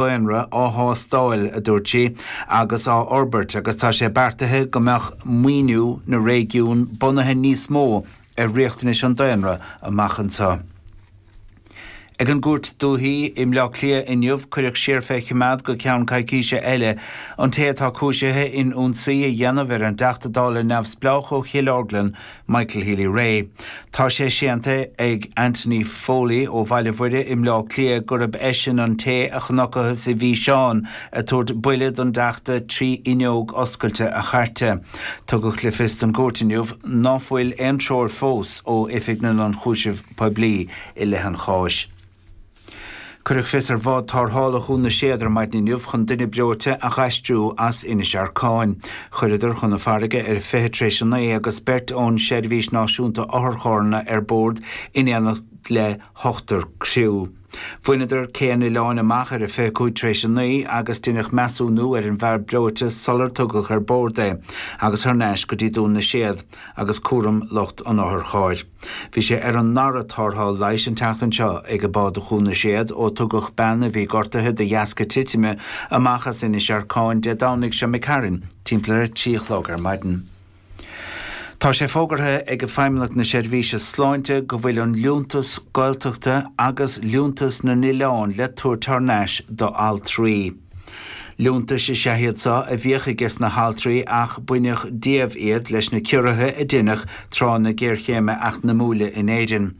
Daonra á thástáil, a dúirt sí, agus á fhorbairt agus tá sé beartaithe go mbeadh maoiniú na réigiún bunaithe níos mó ar riachtanais an daonra amach anseo. Ag an gCúirt Dúichí i mBleá Cliath inniu, cuireadh siar fé choimeád go ceann coicíse eile an té atá cúisithe in ionsaí a dhéanamh ar an dTeachta Dála neamhspleách ó Chill Orglan, Michael Healy-Rae. Tá sé séanta ag Anthony Foley ó Bhaile Mhuire i mBleá Cliath gurb eisean an té a chonacathas i bhfíseán ag tabhairt buille don dTeachta trí fhuinneog oscailte a chairte. Tugadh le fios don gcúirt inniu ná fuil aon treoir fós ó Oifig na nIonchúiseamh Poiblí i leith an cháis. Cuireadh fios ar bhád tarrthála Dhún na Séad ar maidin inniu chun duine breoite a dh'aistriú as Inis Arcáin. Chuireadar chun na farraige ar a 9:20 tar éis agus beirt ón Seirbhís Náisiúnta Otharcharranna ar bord in éineacht le hochtar criú. Bhaineadar cé an oileáin amach ar a 9:25 tar éis agus deineadh measúnú ar an bhfear breoite sular tugadh ar bord é agus thar n-ais go dtí Dún na Séad agus cúram lucht an otharchairr. Bhí sé ar an ndara tarrtháil leighis an tseachtain seo ag bád Dhún na Séad ó tugadh bean a bhí gortaithe de dheasca titime amach as Inis Arcáin Dé Domhnaigh seo imigh tharainn timpeall ar a 3 a chlog ar maidin. Tá sé fógartha ag Feidhmeannacht na Seirbhíse Sláinte go bhfuil an liúntas Gaeltachta agus liúntas na n-oileán le tabhairt thar n-ais do altraí. Liúntais is ea iad seo a bhíodh ages na haltraí ach baineadh díobh iad leis na ciorruithe a deineadh tráth na géarchéime eacnamúla in Éirinn.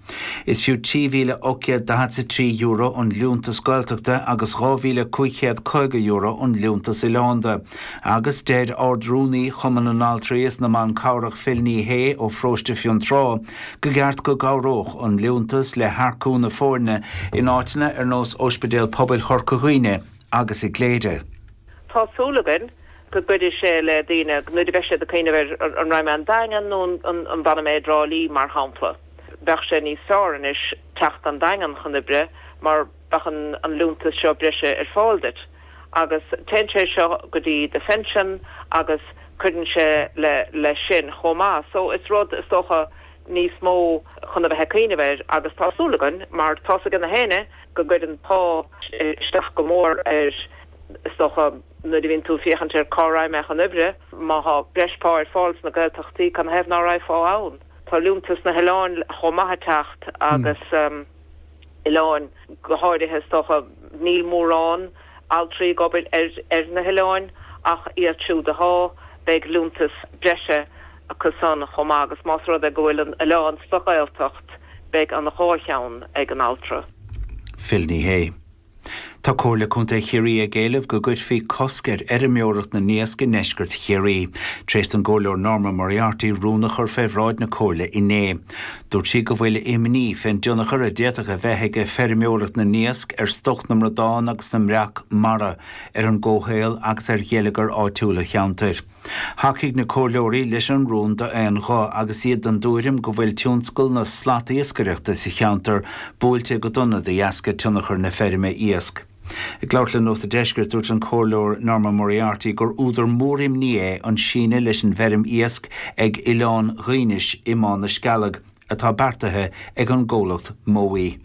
Is fiú €3,843 an liúntas Gaeltachta agus €2,550 an liúntas oileánda. Agus deir Ard-Rúnaí Chumann na nAltraí is na mBan Cabhrach Phil Ní Sheaghdha ó Pharóiste Fionntrá go gceart go gcabhródh an liúntas le hearcú na foirne in áiteanna ar nós Ospidéal Pobail Chorca Dhuibhne agus i gCléire. Tá súil againn go gcuirfidh sé le daoine nuair a bheidh siad ag cuimhneamh ar an raghaidh mé an Daingean nó an bhfanfaidh mé i dTrá Lí mar shampla. Bheadh sé níos fearr anois teacht an Daingean chun oibre mar bheadh an liúntas seo breise ar fáil duit agus téann sé seo go dtí do phension agus cuireann sé le sin chomh maith. So is rud is dócha níos mó chun a bheith ag cuimhneamh air agus tá súil againn mar tá's ag na héinne go gcuireann pá isteach go mór ar, is dócha, nuair a bhíonn tú ag féachaint ar cá raghaidh mé chun oibre, má thá breis pá ar fáil sna Gaeltachtaí, canathaobh ná raghfá ann? Tá liúntas na hoileáin chomh maith ag teacht agus oileáin go háirithe, is dócha, níl mórán altraí ag obair ar na hoileáin ach iad siúd athá, beidh liúntas breise acu san chomh maith agus más rud é go bhfuil an oileán sa Ghaeltacht beidh an dhá cheann ag an altra. Phil Ní Sheaghdha. Tá Comhairle Contae Chiarraí ag éileamh go gcuirfí cosc ar fheirmeoireacht na n-iasc i ndeisceart Chiarraí, tar éis don gComhairleoir Norma Moriarty rún a chur fé bhráid na Comhairle inné. Dúirt sí go bhfuil imní fén dtionchar a d'fhéadfadh a bheith ag feirmeoireacht na n-iasc ar stoc na mbradán agus na mbreac mara, ar an gcomhshaol agus ar gheilleagar áitiúil an cheantair. Thacaigh na comhairleoirí leis an rún d'aon ghuth agus iad den dtuairim go bhfuil tionscal na slatiascaireachta sa cheantar buailte go dona de dheasca tionchar na feirme iasc. Ag labhairt le Nuacht an Deiscirt, dúirt an Comhairleoir Norma Moriarty gur údar mór imní é an síneadh leis an bhfeirm iasc ag Oileán Dhuínis i mBá na Scealg, atá beartaithe ag an gcomhlacht Mowi.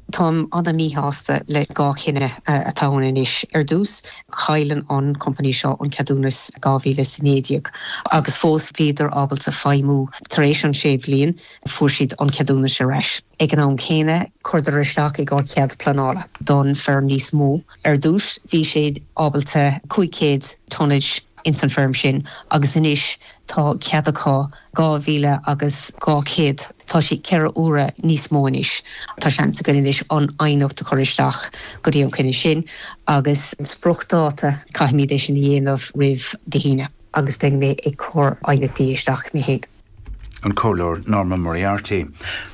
Táim ana-mhíshásta le dhá chinneadh atá ann anois. Ar dtús, chailleann an company seo an ceadúnas 2019 agus fós bhíodar ábalta feidhmiú. Tar éis an sé bhliain, fuair siad an ceadúnas ar ais. Ag an am céanna, chuireadar isteach i gcomhair cead pleanála don feirm níos mó. Ar dtús, bhí siad ábalta 500 tonnage ins an feirm sin agus anois tá cead acu 2,000 agus 200. Tá sé ceithre huaire níos mó anois. Tá seans againn anois an aighneacht a chur isteach go dtí an coinne sin agus an spriocdháta, caithfimid é sin a dhéanamh roimh Dé hAoine agus beidh mé ag cur aighneachtaí isteach mé féin. An Comhairleoir Norma Moriarty.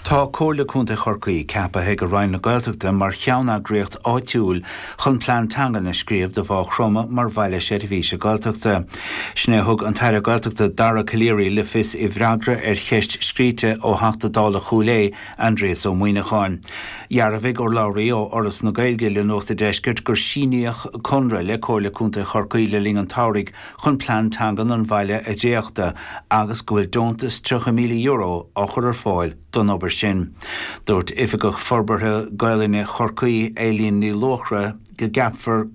Tá Comhairle Contae Chorcaí ceaptha ag Roinn na Gaeltachta mar cheanneagraíocht áitiúil chun plean teangan a scríobh do Mhaigh Chromtha mar bhaile seirbhíse Gaeltachta. Sin é a thug an tAire Gaeltachta Dara Calleary le fios i bhfreagra ar cheist scríte ó Theachta Dála Chúil Aodha, Aindrias Ó Muimhneacháin. Dhearbhaigh urlabhraí ó Fhoras na Gaeilge le Nuacht a' Deiscirt gur síníodh conradh le Comhairle Contae Chorcaí le linn an tsamhraidh chun plean teangan an bhaile a dhréachtadh agus go bhfuil deontas €30,000. €30,000 á chur ar fáil don obair sin. Dúirt Oifigeach Forbartha Gaelainne Chorcaí, Eileen Ní Luachra, go gceapfar.